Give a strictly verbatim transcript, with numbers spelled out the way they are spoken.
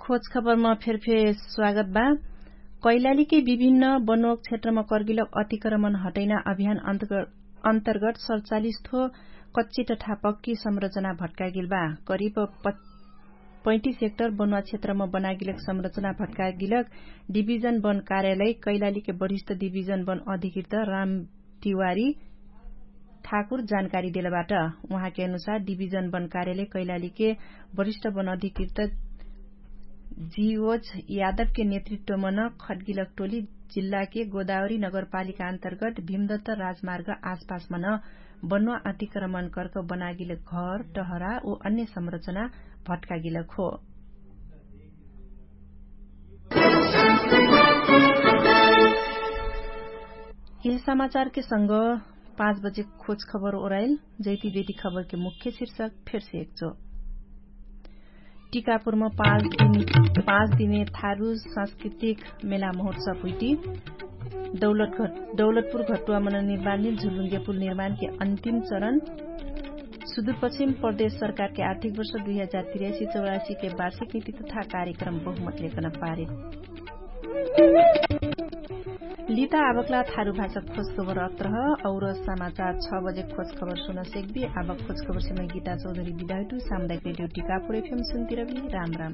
खोजखबरमा फेरफेर स्वागत बा। कैलालीकै विभिन्न बनोक क्षेत्रमा कर्गिलक अतिक्रमण हटैना अभियान अन्तर्गत सडचालिस थो कच्ची तथा पक्की संरचना भट्कागेल बा। करिब पैतिस हेक्टर बनुवा क्षेत्रमा बनागेलक संरचना भट्कागेलक डिभिजन वन कार्यालय कैलालीकै वरिष्ठ डिभिजन वन अधिकृत राम तिवारी ठाकुर जानकारी देलबाट। उहाँके अनुसार डिभिजन वन कार्यालय कैलालीके वरिष्ठ वन अधिकृत जिओज यादवके नेतृत्वमन खड्गिलक टोली जिल्लाके गोदावरी नगरपालिका अन्तर्गत भीमदत्त राजमार्ग आसपासमन बनुवा अतिक्रमण कर्क बनागिलक घर टहरा उ अन्य संरचना भट्कागिलक हो। यह समाचारके संग पाँच बजे खोज खबर ओराइल। जैती बेटी खबरके मुख्य शीर्षक फेरसे एकचो। टिकापुरमा पाँच दिने थारु सांस्कृतिक मेला महोत्सव हुइटी। दौलतपुर घटुवा मननिर्माणमे झुलुङ्गेपुल निर्माणके अन्तिम चरण। सुदुरपश्चिम प्रदेश सरकारके आर्थिक वर्ष दुई हजार तिरासी चौरासीके वार्षिक नीति तथा कार्यक्रम बहुमतलेकन पारित। लिता आबकला थारु भाषा खोजखबर अत्रह। और समाचार छ बजे खोजखबर सुनसेकबी। आबक खोजखबर सेमय गीता चौधरी बिदाइटु सामुदायिक रेडियो टिकापुर एफएम सुन्तिरबी। राम राम।